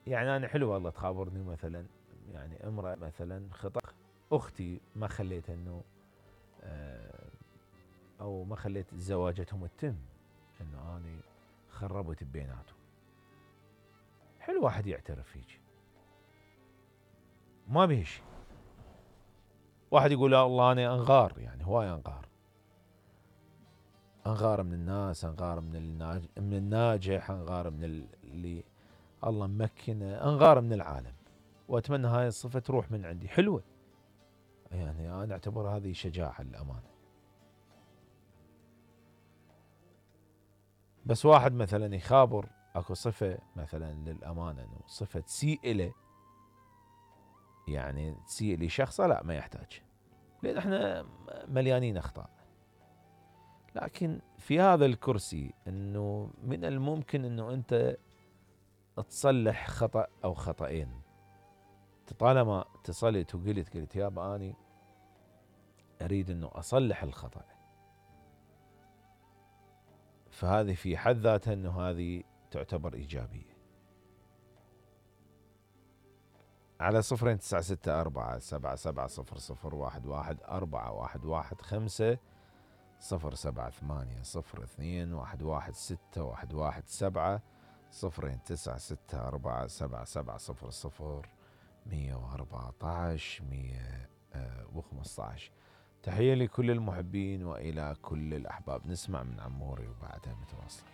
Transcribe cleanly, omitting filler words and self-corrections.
يعني أنا حلو والله تخابرني مثلا يعني امرأة مثلا خطأ أختي ما خليت أنه أو ما خليت زواجتهم تتم أنه أنا خربت بيناتهم. حلو واحد يعترف فيك ما به شيء. واحد يقول يا الله أنا أنغار، يعني هواي أنغار، أنغار من الناس، أنغار من الناجح، أنغار من اللي الله ممكنه، أنغار من العالم، وأتمنى هاي الصفة تروح من عندي. حلوة يعني أنا أعتبر هذه شجاعة للأمانة. بس واحد مثلا يخابر اكو صفة مثلا للأمانة انه صفة تسيء إله، يعني تسيء لشخصه، لا ما يحتاج، لأن احنا مليانين أخطاء. لكن في هذا الكرسي انه من الممكن انه انت تصلح خطأ او خطأين. طالما اتصلت قلت يابا اني اريد انه اصلح الخطأ، فهذه في حد ذاتها انه هذه تعتبر ايجابية. على 0964-7700-11-411-5 078-02-117 0964-7700-114 تحية لكل المحبين وإلى كل الأحباب. نسمع من عموري وبعدها متواصل.